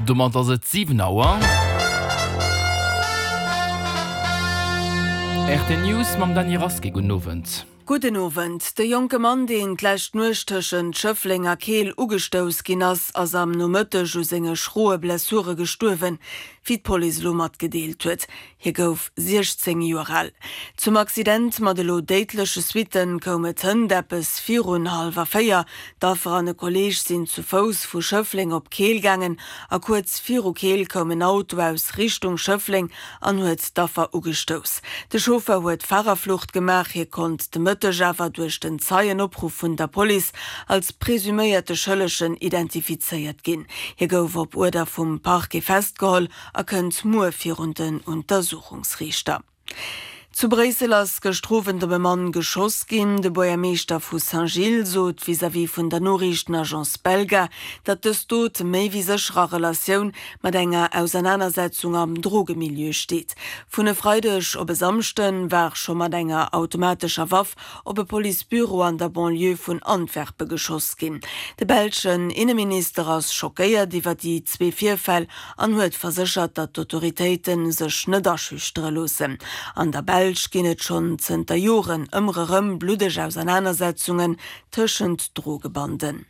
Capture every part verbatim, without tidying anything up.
Domat ass et siwen Auer. R T News mam Dany Rasqué. Gudden Owend. Gudden Owend. De jonke Mann, deen d'lescht Nuecht tëschent Schëffleng a Keel ugestouss ginn ass, ass am Nomëtteg u senge schroe Blessure gestuerwen, wéi d'Police elo matgedeelt huet. Hie gouf siechzéng Joer al. Zum Accident mat elo déidleche Suitte koum et hënt eppes virun hallwer véier. D'Affer an e Kolleeg sinn zu Fouss vu Schëffleng op Keel gaangen a kuerz viru Keel koum en Auto aus Richtung Schëffleng an huet d'Affer ugestouss. De Chauffer huet Farerflucht gemaach. Hie konnt de Mëtteg awer duerch den Zeienopruff vun der Police als presuméierte Schëllegen identifizéiert ginn. Hie gouf op Uerder vum Parquet festgeholl a kënnt muer virun den Untersuchungsriichter. Zu Bréissel ass gëschter Owend op e Mann geschoss ginn. De Buergermeeschter vu Saint-Gilles sot vis-à-vis vun der Noriichtenagence Belga, datt dës Dot méi wéi sécher a Relatioun mat enger Ausernanersetzung am Drogemilieu steet. Vun e Freideg op e Samschde war scho mat enger automatescher Waff op e Policebüro an der Banlieue vun Antwerpe geschoss ginn. De belschen Inneminister ass schockéiert iwwer déi zwee Virfäll an huet verséchert, datt d'Autoritéite sech net aschüchtere loossen. An der Belsch ginn et schonn zënter Joren ëmmer erëm bluddeg Ausernanersetzungen tëschent Drogebanden.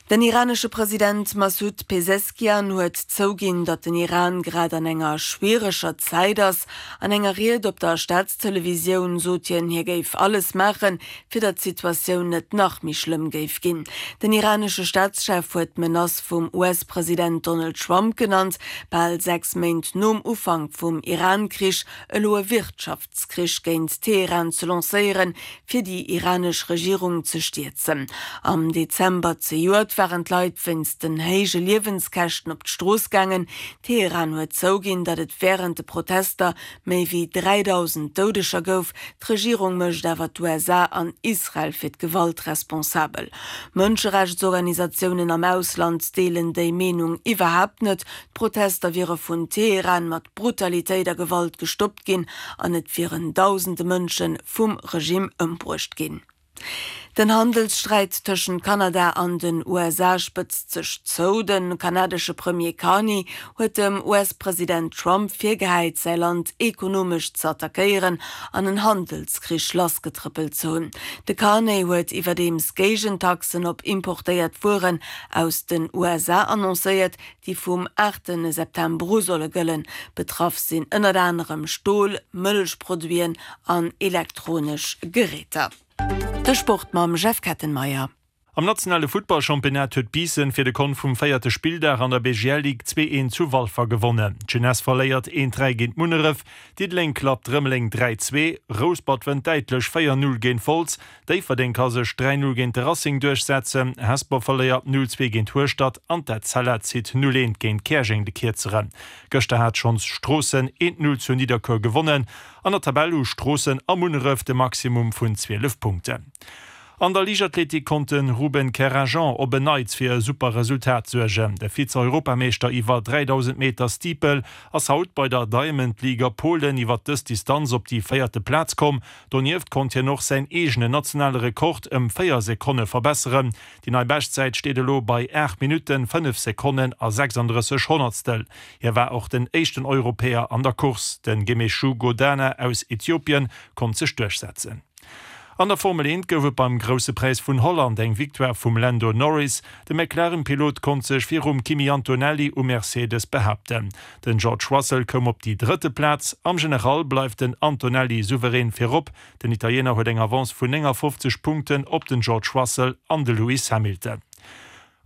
Den iranesche President Massoud Peseschkian huet zouginn, datt den Iran grad an enger schwiereger Zäit ass. An enger Ried op der Staatstelevisioun sot hien, hie géif alles maachen, fir datt d'Situatioun net nach méi schlëmm géif ginn. Den iranesche Staatschef huet d'Menace vum U S-President Donald Trump genannt, bal sechs Méint nom Ufank vum Iran-Krich elo e Wirtschaftskrich géint Teheran ze lancéieren, fir déi iranesch Regierung ze stierzen. Am Dezember zejoert waren d'Leit wéinst den héije Liewenskäschten op d'Strooss gaangen. Teheran huet zouginn, datt et wärend de Protester méi wéi dräidausend Doudeger gouf. D'Regierung mécht awer d'U S A an Israel fir d'Gewalt responsabel. Mënscherechtsorganisatiounen am Ausland deelen déi Meenung iwwerhaapt net. D'Protester wiere vun Teheran mat Brutalitéit a Gewalt gestoppt ginn an et wieren dausende Mënsche vum Regime ëmbruecht ginn. Den Handelssträit tëschent Kanada an den U S A spëtzt sech zou. De kanadesche Premier Carney huet dem U S-President Trump virgehäit, säi Land ekonomesch ze attackéieren an en Handelskrich lassgetrëppelt ze hunn. De Carney huet iwwerdeems Géigentaxen op importéiert Wueren aus den U S A annoncéiert, déi vum aachte September u solle gëllen. Betraff sinn ënnert anerem Stol, Mëllechproduiten an elektronesch Geräter. De Sport mam Jeff Kettenmeyer. Am nationale Futtballchampionnat huet Biissen fir de Kont vum véierte Spilldag an der B G L Ligue zwee eent zu Walfer gewonnen. D'Jeunesse verléiert eent dräi géint Munneref, Diddeleng klappt Rëmeleng dräi zwee, Rouspert wënnt däitlech véier null géint Wolz, Déifferdeng ka sech dräi null géint de Racing duerchsetzen, Hesper verléiert null zwee géint Hueschtert an d'Etzella zitt null eent géint Käerjeng de Kierzeren. Gëschter hat schonns Stroossen eent null zu Nidderkuer gewonnen. An der Tabell hu Stroossen a Munneref de Maximum vun zwielef Punkten. An der Liichtathletik konnt de Ruben Kerajan op en Neits fir e super Resultat suergen. De Vize-Europameeschter iwwer dräidausend Meter Steeple ass haut bei der Diamond League a Polen iwwer dës Distanz op déi véierte Plaz komm. Donieft konnt hien och säin eegenen nationale Rekord ëm véier Sekonne verbesseren. Déi nei Beschtzäit steet elo bei aacht Minutten, fënnef Sekonnen a sechsandrësseg Honnertstel. Hie war och den éischten Europäer an der Course. Den Gemechu Godana aus Äthiopien konnt sech duerchsetzen. An der Formel eent gouf et beim Grousse Präis vun Holland eng Victoire vum Lando Norris. De McLaren-Pilot konnt sech virum Kimi Antonelli um Mercedes behaapten. Den George Russell koum op déi drëtte Plaz. Am General bleift den Antonelli souverän virop. Den Italiener huet eng Avance vun néngafofzeg Punkten op den George Russell an de Lewis Hamilton.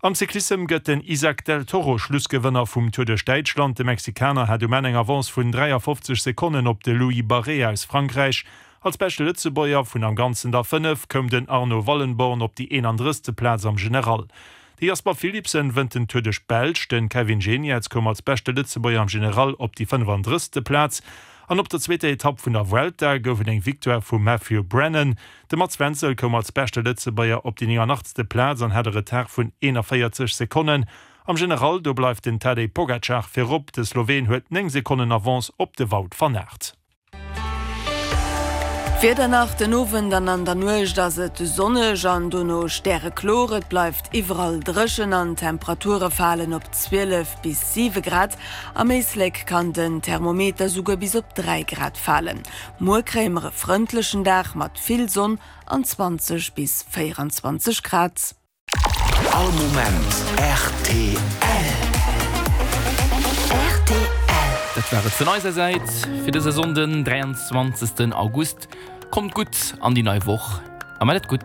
Am Cyclissem gëtt den Isaac del Toro Schlussgewënner vum Tour duerch Däitschland. De Mexikaner hat um Enn eng Avance vun dräiafofzeg Sekonnen op de Louis Barré aus Frankräich. Als beschte Lëtzebuerger vun am Ganzen der fënnef koum den Arno Wallenborn op déi eenandrëssegste Plaz am General. De Jasper Philipsen wënnt den Tour duerch d'Belsch, de Kevin Geniets koum als beschte Lëtzebuerger am General op déi fënnefandrëssegste Plaz. An op der zweeter Etapp vun der Vuelta gouf et eng Victoire vum Matthew Brennan. De Mats Wenzel koum als beschte Lëtzebuerger op déi nénganachtste Plaz an hat e Retard vun eenavéierzeg Sekonnen. Am General do bleift den Tadej Pogacar virop, de Sloween huet néng Sekonnen Avance op de Wout van Aert. D'Wieder nach, Den Owend an an der Nuecht ass et sonneg an dono stärekloer. Et bleift iwwerall dréchen an d'Temperature falen op zwielef bis siwe Grad. Am Éislek kann den Thermometer souguer bis op dräi Grad falen. Muer kréie mer e frëndlechen Dag mat vill Sonn an zwanzeg bis véieranzwanzeg Grad. All Moment rtl. Rtl. Dat war et vun eiser Säit fir dëse Sonnden, dräianzwanzegsten August. Kommt gutt an déi nei Woch a mat et gutt.